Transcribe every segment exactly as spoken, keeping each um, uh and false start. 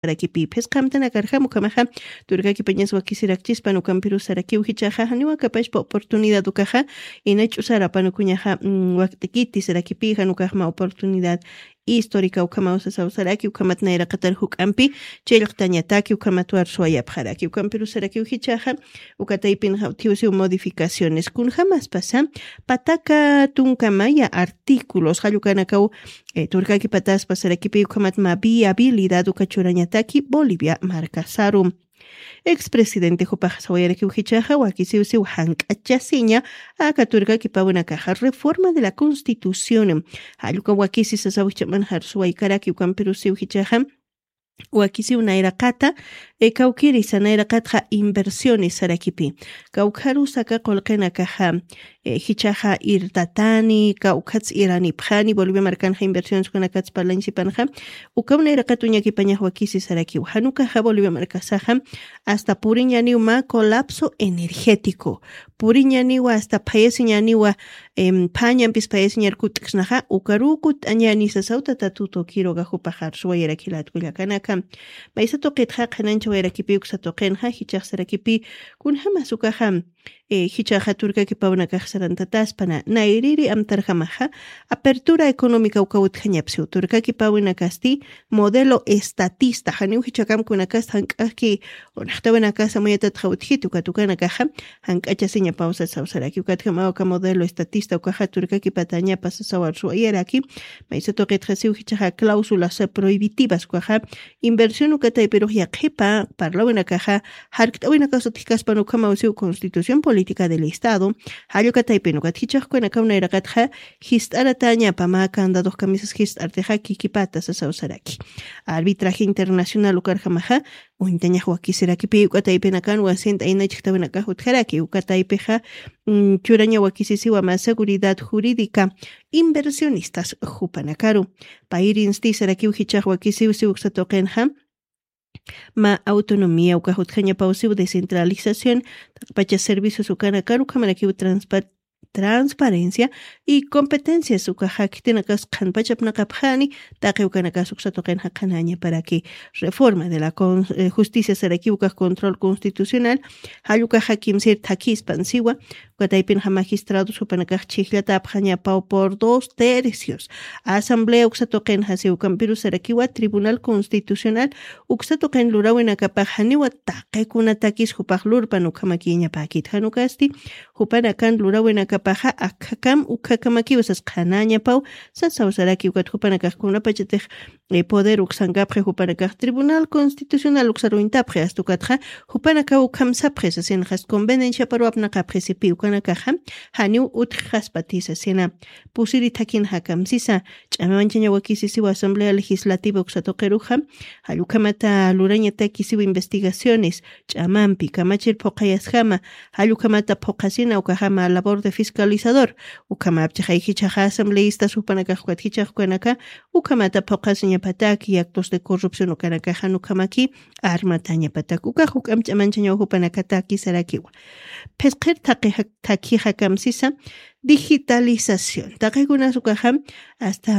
sarakipi phisqamtanakarjam ukhamaxa turkakipañas wakisirakchispan ukampiru sarakiw jichaxa janiwa kapashpa oportunidad ukaxa inach'u sarapan ukuñaxa wakt'ikiti sarakipi jan ukaxma oportunidad histórica ukhamaw sasaw saraki ukhamat nayraqatar juk'ampi chillqtañataki ukhamat warsuwayapxaraki ukampiru sarakiw jichaxa ukataypinxa utjiwsiw modificaciones kunjamaspasa pataka tunkamaya artículos jallukanakaw turkaki pataspa sarakipi ukhamat ma viabilidad uka churañataki bolivia markasaru. Expresidente jupaxa sawayarakiw jichaxa wakisiwsiw jank'achasiña aka turkakipawinakaxa reforma de la constitución jalluka wakisi sasaw jichaman jarsuwaykaraki ukampirusiw jichaxa wakisiw nayraqata kawkirisa nayraqatxa inversiones sarakipi kawkharusaka qulqinakaxa jichaxa irtatani kawkhats iranipxani bolivia markanxa inversiones kunakats parlañsipanxa ukaw nayraqat uñakipañax wakisi sarakiw janukaxa bolivia markasaxa asta puriñaniw ma colapso energético puriñaniwa asta phayasiñaniwa phañampis phayasiñar kut'ksnaxa ukaruw kut'añani sasaw tata tuto kiroga jupaxar suwayarakilatkullakanaka maysa tuqitxa qhanancha wayarakipi uksa tuqinxa jichaxsarakipi kunjamas ukaxa jichaxa turkakipawnakax sarantataspana nayriri amtarjamaxa apertura económica uka utjañapsiw turkakipawinakasti modelo estatista janiw jichakamkunakasta jank'ajki unaxtawinakasa muyatatxa utjiti ukat ukanakaxa jank'achasiñapaw sasaw saraki ukatjamaw aka modelo estatista ukaxa turkakipatañapa sasawar suwayaraki maysa tuqitxasiw jichaxa cláusulas prohibitivas ukaxa inversión ukataypirux yaqhipa parlawinakaxa jarkt'awinakaw sutjkaspan ukhamawsiw constitución política del estado jallukataypin ukat jichaxkukanakaw nayraqatxa jist'aratañapa mä candadux kamisas jist'artixa kikipata sasaw saraki arbitraje internacional ukarjamaxa uñtañax wakisirakipi ukataypinakan wasint'ayna chijtawinakax utjaraki ukataypixa churaña wakisisiwa mä seguridad jurídica inversionistas jupanakaru payrinsti sarakiw jichax wakisiwsiw uksa tuqinxa mä autonomía ukax utjañapawsiw descentralización taqpacha servicios ukanakaru ukhamarakiw transparencia y competencias ukaxa khitinakas qhanpachapnaqapxani taqi ukanakas uksa tuqinxa qhanañaparaki reforma de la justicia saraki ukax control constitucional jallukaxa kimsir thakispan siwa ukataypinxa magistrados jupanakax chhijllatapxañapaw por dos tercios asamblea uksa tuqinxa siw ukampiru sarakiwa tribunal constitucional uksa tuqin lurawinakapax janiwa taqikuna takis jupax lurpan ukhamakiñapäkit janukasti jupanakan lurawinakapaxa akhakam ukhakamakiw sas qhanañapaw sasaw saraki ukat jupanakax kunapachatix poder uksankapxi jupanakax tribunal constitucional uksaruñtapxi asta ukatxa jupanakaw ukham sapxi sasinxas convenenciaparuw apnaqapxi sipi ukanakaxa janiw utjxaspati sasina pusiri thakinxa kamsisa ch'amamanchaña wakisisiw asamblea legislativa uksa tuqiruxa jallukhamata lurañatakisiw investigaciones ch'amampi kamachir phuqhayasjama jallukhamata phuqhasina ukajama labor de fiscalizador ukhamapchixay jichaxa asambleistas jupanakax ukat jichax ukanaka ukhamata phuqhasiñapataki actos de corrupción ukanakaxan ukhamaki armatañapatak ukax uk'am ch'amanchañaw jupanakataki sarakiwa phisqhir thakija kamsisa digitalización taqikunas ukaxa asta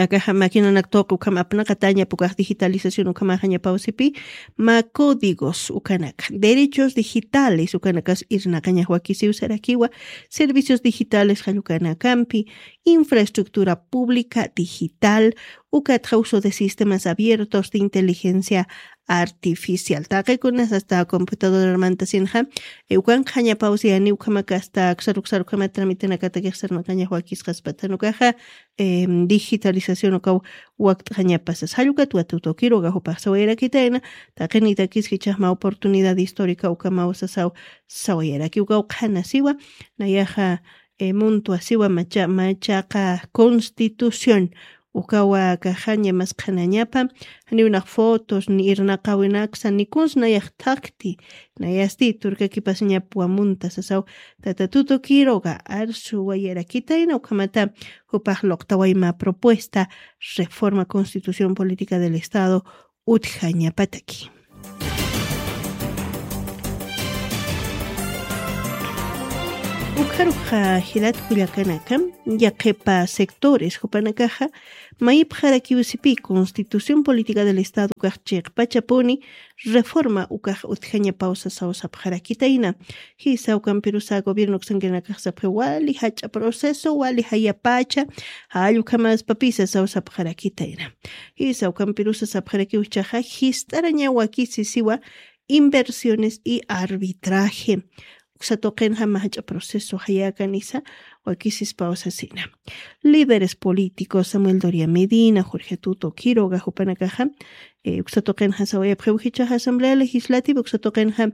akaxa maquinanak tuqi ukham apnaqatañapa ukax digitalización ukhamaxañapaw sipi mä códigos ukanaka derechos digitales ukanakas irnaqañax wakisiw sarakiwa servicios digitales jallukanakampi infraestructura pública digital ukatxa uso de sistemas abiertos de inteligencia artificial taqikunas asta computadorarmanta sinxa ukanqañapawsiyani ukhamak asta aksar uksar ukhamat tramitinakatakix sarnaqañax wakisqaspatan ukaxa digitalización ukaw wakt'xañapasas jallukat watutukiruga jupax sawayarakitayna taqinitakis jichhaxma oportunidad histórica ukamaw sasaw sawayaraki ukaw qhanasiwa nayaxa muntwasiwa macha machaqa constitución ukawa kaxaña mas qhanañapa janiw nax fotos ni irnaqawinaksa ni kuns nayax thakti nayasti turkakipasiñapwa munta sasaw tata tutukiruga arsuwayarakitayna ukhamata jupax luqtawayma propuesta reforma constitución política del estado utjañapataki Ukharuxa jilat kullakanaka, yaqhipa sectores jupanakaxa mayipxarakiwsipi Constitución Política del Estado ukax chiqpachapuni reforma ukax utjañapaw sasaw sapxarakitayna. Jisa ukampirusa gobierno uksankirinakax sapxi wali jach'a proceso, wali jayapacha, jall ukhamaspapisa saw sapxarakitayna. Jisa ukampirusa sapxarakiw jichhaxa jist'araña wakisi siwa inversiones y arbitraje. Uksa tuqinxa mä jach'a proceso jayäkanisa wakisispaw sasina. Líderes políticos Samuel Doria Medina, Jorge Tuto Quiroga jupanakaxa, eh, uksa tuqinxa sawayapxiw jichhaxa Asamblea Legislativa, uksa tuqinxa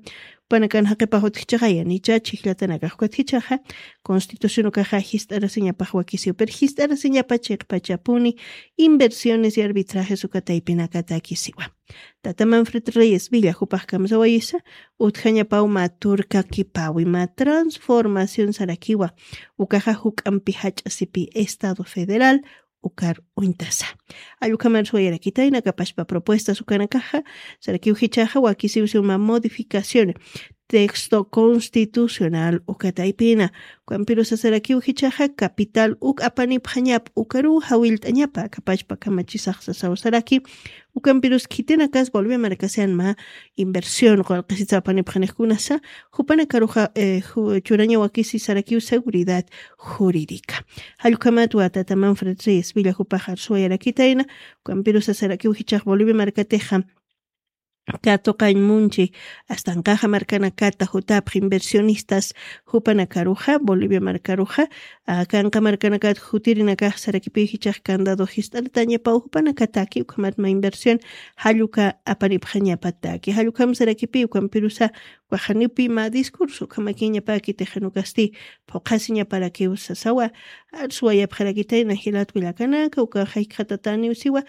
jupanakan jaqipax utjchaxa yanicha chhijllatanakax ukat jichhaxa Constitución ukaxa jist'arasiñapax wakisiw, pero jist'arasiñapa chiqpachapuni inversiones y arbitrajes uka taypinakatakisiwa. Tata Manfred Reyes Villa jupax kamsawayisa, utjañapaw mä turkakipawi, mä transformación sarakiwa, ukaxa juk'ampi jach'a sipi Estado Federal ukar uñtasa. Jall ukhamar suwayarakitayna kapashpa propuestas ukanakaxa, sarakiw jichhaxa wakisiwsiw mä modificación texto constitucional uka taypina. Ukampirusa sarakiw jichhaxa capital uk apanipxañap ukaruw jawillt'añapa kapashpa kamachisax sasaw saraki. Ukampirus khitinakas Bolivia markasan mä inversión qullqisitsa apanipxanix kunasa, jupanakaruxa, eh, ju-, churaña wakisi sarakiw seguridad jurídica. Jall ukhamat wa tata Manfred Reyes Villa jupax arsuwayarakitayna, ukampirusa sarakiw jichhax Bolivia markatixa katuqañ munchi, astanqaxa markanakata jutapx inversionistas jupanakaruxa, Bolivia markaruxa, ah, kanqa markanakat jutirinakax sarakipiw jichhax candado jist'artañapaw jupanakataki, ukhamat mä inversión jall uka apanipxañapataki. Jall ukham sarakipiw ukampirusa ukax janipi mä discurso ukhamakiñapaki tixinukasti phuqhasiñaparakiw sasawa, arsuwayapxarakitayna jilat kullakanaka, ukaxa jikxatataniw siwa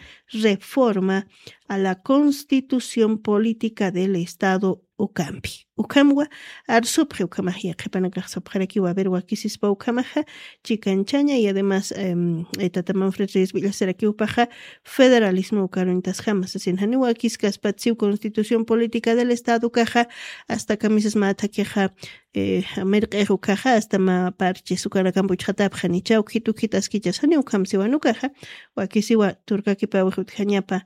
reforma a la Constitución Política del Estado ukampi. Ukhamwa arsupxi ukhamax yaqhipanakax sapxarakiwa, a ver, wakisispa ukhamaxa chikanchaña, y además, em, eh, tata Manfred Reyes Villa sarakiw jupaxa federalismo ukaruñtasjama sasin, janiw wakiskaspat siw Constitución Política del Estado ukaxa, hasta kamisas mä thakixa, eh, mirq'ix ukaxa, hasta mä parches ukanakamp uchxatapxanicha, ukhit ukhit askichas, janiw ukham siwan ukaxa, wakisiwa turkakipawix utjañapa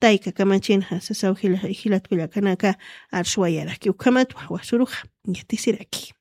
tayka kamachinxa sasaw jila-, jilat kullakanaka, arsuwayaraki ukhamat wasuruxa yatisiraki.